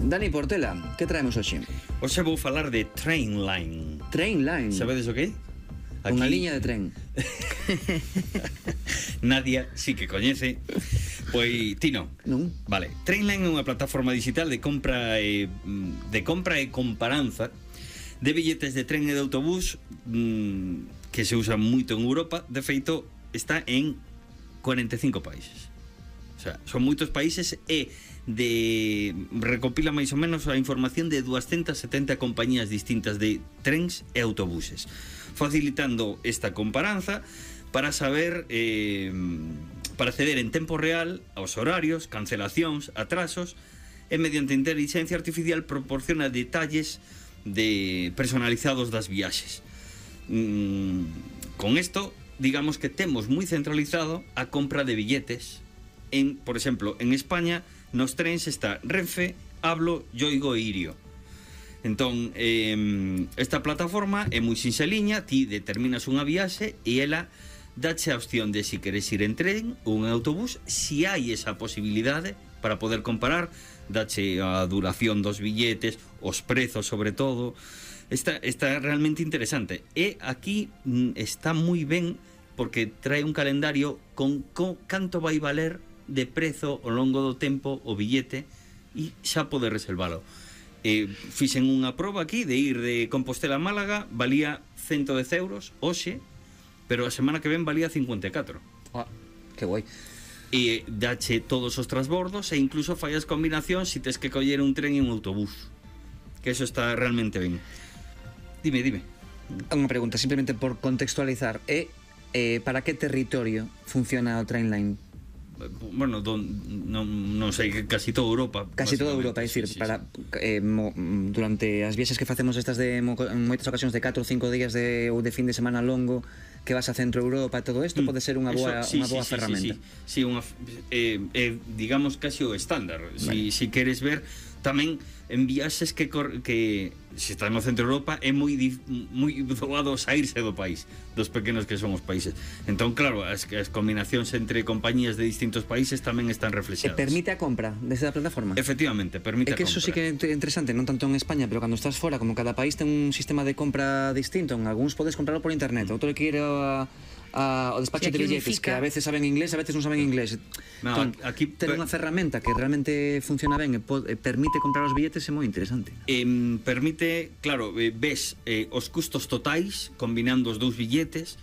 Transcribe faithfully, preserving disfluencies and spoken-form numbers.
Dani Portela, que traemos hoxe? Hoxe vou falar de Trainline. Trainline? Sabedes o que é? Unha liña de tren. Nadia sí que coñece. Pois ti non. Non. Vale, Trainline é unha plataforma digital de compra e de compra e comparanza de billetes de tren e de autobús mmm, que se usa moito en Europa. De feito, está en cuarenta e cinco países. O sea, son moitos países e de recopila máis ou menos a información de doscientas setenta compañías distintas de trens e autobuses, facilitando esta comparanza para saber eh, para acceder en tempo real aos horarios, cancelacións, atrasos, e mediante inteligencia artificial proporciona detalles de personalizados das viaxes. Mm, con isto, digamos que temos moi centralizado a compra de billetes en, por exemplo, en España nos trens está Renfe, Hablo, Yoigo e Irio. Entón, eh, esta plataforma é moi sinxeliña, ti determinas unha viaxe e ela dache a opción de si queres ir en tren ou en autobús, si hai esa posibilidade para poder comparar, dache a duración dos billetes, os prezos sobre todo. Está, está realmente interesante. E aquí mm, está moi ben porque trae un calendario con, con canto vai valer de prezo ao longo do tempo o billete e xa pode reservalo. Eh, fixen unha proba aquí de ir de Compostela a Málaga, valía ciento dez euros hoxe, pero a semana que ven valía cincuenta e catro. Ah, que guai. E dache todos os transbordos e incluso fallas combinacións se tes que coller un tren e un autobús, que eso está realmente ben. Dime, dime. Unha pregunta, simplemente por contextualizar, é eh, para que territorio funciona o Trainline? Bueno, don, non, non sei, casi toda Europa. Casi toda Europa, é dicir, sí, sí, para sí. Eh, mo, durante as viaxes que facemos estas de mo, en moitas ocasións de catro ou cinco días de, ou de fin de semana longo que vas a Centro Europa e todo isto, mm, pode ser unha boa, eso, sí, unha boa sí, ferramenta. Sí, sí, sí, unha, eh, eh, digamos casi o estándar. Vale. Si, si queres ver tamén en viaxes que, cor, que se está no Centro Europa é moi moi doado saírse do país, dos pequenos que son os países. Entón, claro, as, as combinacións entre compañías de distintos países tamén están reflexadas. E permite a compra desde a plataforma? Efectivamente, permite a compra. É que eso sí que é interesante, non tanto en España, pero cando estás fora, como cada país ten un sistema de compra distinto, en algúns podes comprarlo por internet, outro que ir a a, o despacho de billetes, unifica, que a veces saben inglés, a veces non saben inglés. No, entón, aquí ter unha ferramenta que realmente funciona ben e, e permite comprar os billetes é moi interesante. Eh, permite, claro, eh, ves eh, os custos totais combinando os dous billetes,